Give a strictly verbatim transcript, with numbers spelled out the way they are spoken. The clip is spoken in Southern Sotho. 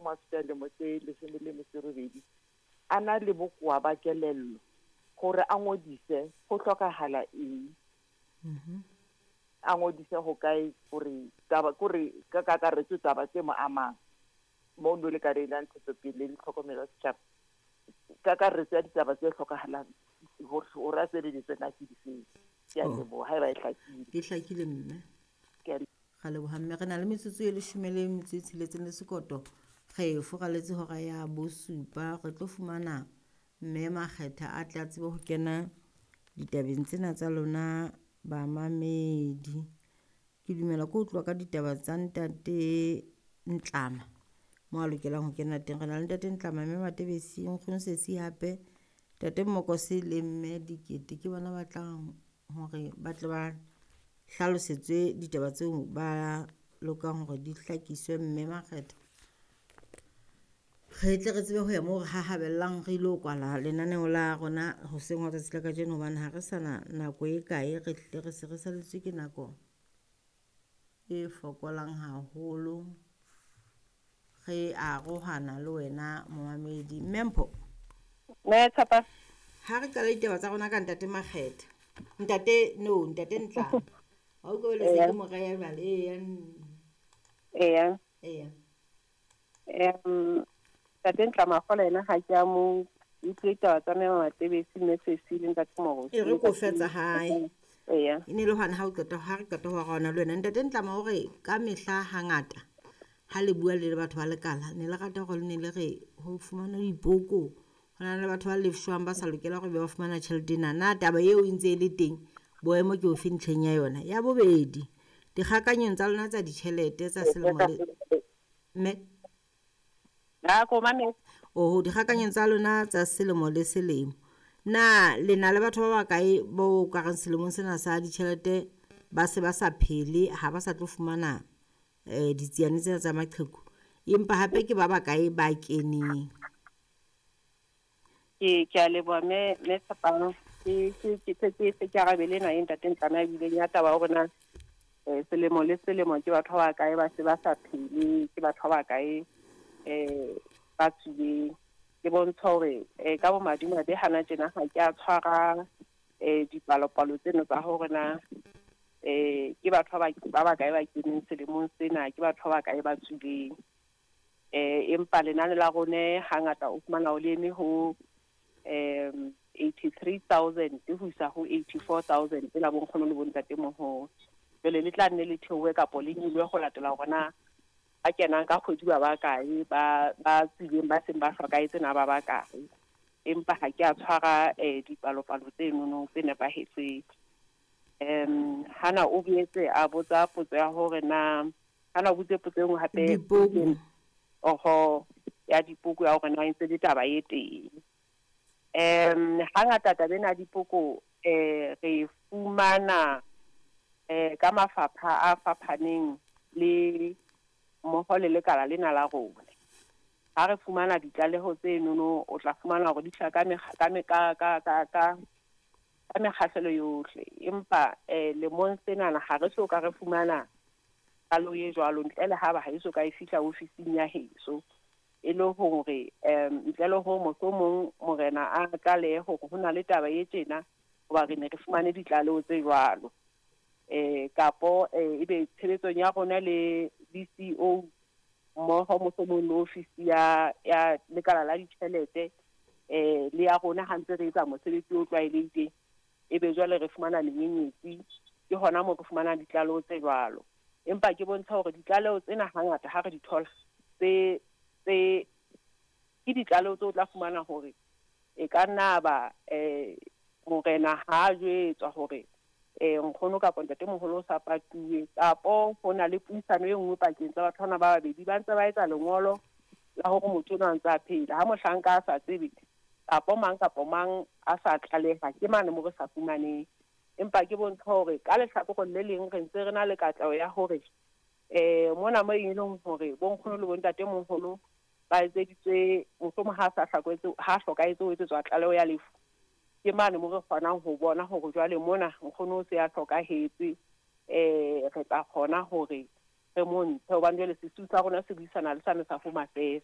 mohlomong a fihla lemo tse leshome le metso e robedi, a na le bokowa ba kelello, hore a ngodise ho hlokahala eng? A ngodise ho kae hore taba kore ka kakaretso taba tse mo amang mono lekaleng la ntshetsopele le tlhokomelo ya setjhaba, kakaretso ya ditaba tse hlokahalang hore hore a sebediswe na ke difeng? Ke a Oh. leboha haeba e hlakile. E hlakile mme. Ke a Ra leboha mme. Re na le metsotso e leshome le metso e tsheletseng le sekoto. Re furaletse hora ya bosupa. Re tlo fumana mme Makgetha a tle a tsebe ho kena ditabeng tsena tsa lona bamamedi. Ke dumela ke ho tloha ka ditaba tsa ntate Ntlama mo a lokelang ho kena teng. Re na le ntate Ntlama, mme Matebesi, nkgono Sesi hape, ntate Mmokose le mme Dikete ke bona ba tlang hore ba tle ba hlalosetswe ditaba tseo ba lokang hore di hlakiswe mme Makgetha. Re tle re tsebe ho ya moo re hahabellang re ilo kwala lenaneo la rona hoseng hwa tsatsi la kajeno, hobane ha re sana nako e kae, re hlile re se re salletswe ke nako e fokolang haholo. Re arohana le wena momamedi. Mme Mpho, Mme Tshepa. ha re qala ditaba tsa rona ka ntate Makgetha, ntate no ntate Ntlama, wa utlwa jwale se Eya. ke mo reha jwale. Eya. Eya. Eya. Em ntate Ntlama kgola yena ha ke a mo utlwe taba tsa mme Matebesi, mme Sesi le ntate Morosi. E re ko fetsa hae. Eya. E ne le hwane ha o qeta, ha re qeta ho arohana le wena. Ntate Ntlama o re ka mehla hangata ha le bua le le batho ba lekala, ne le rata hore le ne le re ho fumanwe dipoko, ho na le batho ba lefshwang ba sa lokela hore be ba fumana tjhelete ena. Na taba eo e ntse e le teng? Boemo ke ofe ntlheng ya yona? Ya bobedi, dikgakanyong tsa lona tsa ditjhelete tsa selemo le mme Ha ko mametse. Oho, dikgakanyong tsa lona tsa selemo le selemo, na le na le batho ba bakae bo ka reng selemong sena sa ditjhelete ba se ba sa phele, ha ba sa tlo fumana eh ditsiane tsena tsa maqheku, empa hape ke ba bakae ba keneng? Ke ke a leboha mme mme Tshepang. Ke ke ke ke ke ke ke arabele ena e ntate Ntlama a bileng ya taba ya hore na eh selemo le selemo ke batho ba bakae ba se ba sa phele, ke batho ba bakae eh ba tswileng. Ke bontsha hore eh ka bomadimabe hana tjena ha ke a tshwara eh dipalopalo tseno tsa hore na eh ke batho ba ba bakae ba keneng selemong sena, ke batho ba bakae ba tswileng. Eh empa lenane la rone hangata o fumana o le eme ho um eighty-three thousand ho isa ho eighty-four thousand la bonkgono le bontatemoholo. Jwale le tla nne le theohe kapo le nyolohe ho latela hore na ba kenang ka kgwedi ba bakae, ba ba tswileng ba seng ba hlokahetse na ba bakae. Empa ha ke a tshwara eh dipalopalo tsenono tse nepahetseng. Em hana o boetse a botsa potso ya hore na hana o botse potso e nngwe hape Dipoko. Oho, ya dipoko ya hore na e ntse le taba e teng. Em hangata taba ena ya dipoko eh re fumana eh ka mafapha a fapaneng le mmoho le lekala lena la rona. Ha re fumana ditlaleho tse nono, o tla fumana hore di hlaha ka mekga, ka me-, ka, ka, ka, ka, ka mekgahlelo yohle. Empa eh lemong senana ha re so ka re fumana palo e jwalo, ntle le ha ba ha eso ka e fihla ofising ya heso. E le hore em ntle le hore mohlomong morena a tlalehe hore ho na le taba e tjena, hoba re ne re fumane ditlaleho tse jwalo. Eh kapo eh ebe tshebetsong ya rona le D C O mmoho mohlomong le ofisi ya, ya lekala la ditjhelete eh le ya rona ha ntse re etsa mosebetsi o tlwaelehileng, ebe jwale re fumana menyenyetsi, ke hona moo re fumana ditlaleho tse jwalo. Empa ke bontsha hore ditlaleho tsena hangata ha re di thola, tse, tse ke ditlaleho tseo o tla fumana hore e ka nna ba eh morena ha a jwetswa hore eh nkgono kapa ntatemoholo o sa patuwe, kapo ho na le puisano e nngwe pakeng tsa batho bana ba babedi, ba ntse ba etsa lengolo la hore motho enwa a ntse a phela. Ha mohlanka a sa tsebe kapo mang kapo mang a sa tlaleha, ke mane mo re sa fumaneng. Empa ke bontsha hore ka lehlakoreng le leng re ntse re na le katleho ya hore eh mona mo e leng hore bonkgono le bontatemoholo ba etseditswe, mohlomong ha sa hlokahetse, ha hlokahetse ho etsetswa tlaleho ya lefu, ke mane mo re kgonang ho bona hore jwale mona nkgono o se a hlokahetse, eh re tla kgona hore re mo ntshe, hobane jwale sesiu sa rona se buisana le sane sa Home Affairs.